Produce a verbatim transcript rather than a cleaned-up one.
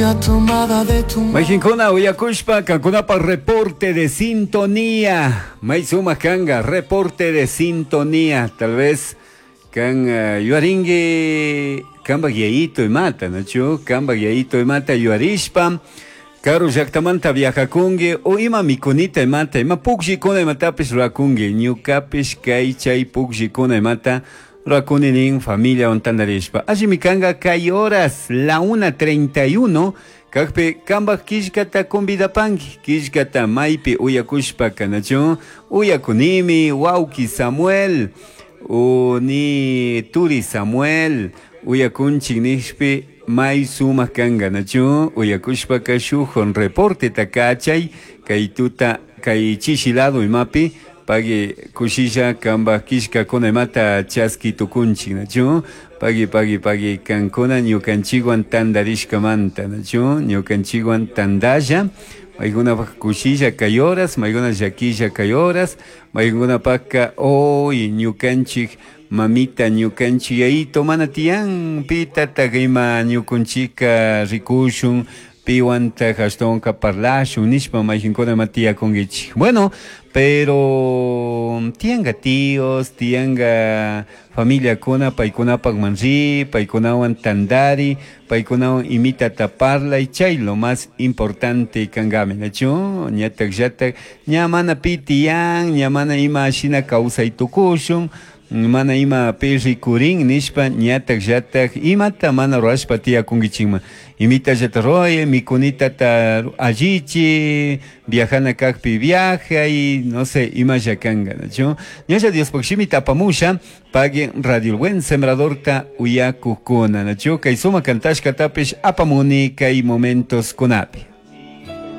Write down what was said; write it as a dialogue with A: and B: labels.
A: Tomada de tu
B: Mayqinkuna uyakushpa kankunapa reporte de sintonía. May sumaq kanga reporte de sintonía. Tal vez kan uh, yuaringi kanpak yayito imata, nachu? Kanpak yayito imata yuarishpa karu llaktamanta viajakunki o ima mikunita imata, ima pukllikuna imatapish rurakunki, ñukapish kay chay pukllikuna imata rurakuni nin familiawan tantarishpa. Allimi kanka kay horas la una treinta y uno kakpi kanpak killkata convidapanki, killkata maypi uyakushpa kanachu, uyakunimi wawki Samuel, uni turi Samuel, uyakunchik nishpi may sumak kanka nachu, uyakushpaka shuk reporteta kachay kay tuta kay chishi lado imapi pagui kushilla kanpak killkakuna imata chaski tukunchik nachu, pagui pagui pagui kankuna ñukanchikwan tantarishkamanta nachu, ñukanchikwan tantalla, maykunapak kushilla kay horas, maykuna llakilla kay horas, maykunapakka hoy ñukanchik mamita ñukanchik yayito mana tiyan pitatak ima ñukunchika rikushun piwantak ashtawanka parlashun nishpa mayqinkuna ima tiyakunkichik. Bueno, pero tiyanka tíos, tiyanka familiakuna paykunapakman ri, paykunawan tantari, paykunawan imitata parlay, chay lo más importante kankami, nachu? Ñatak llatak ña mana pi tiyan, ña mana ima shina kawsay tukushun, mana ima pi rikurin nishpa ñatak llatak imata mana rurashpa tiyakunkichikman. Imita llata ruray, mikunitata allichi, viajana kakpi viajay, no sé, imalla kanka, nachu? Ñalla Diospaq shimita apamusha, pagui Radio El Buen Sembradorta uyakukuna, nachu? Kay sumak kantashkatapish apamuni kay momentos kunapi.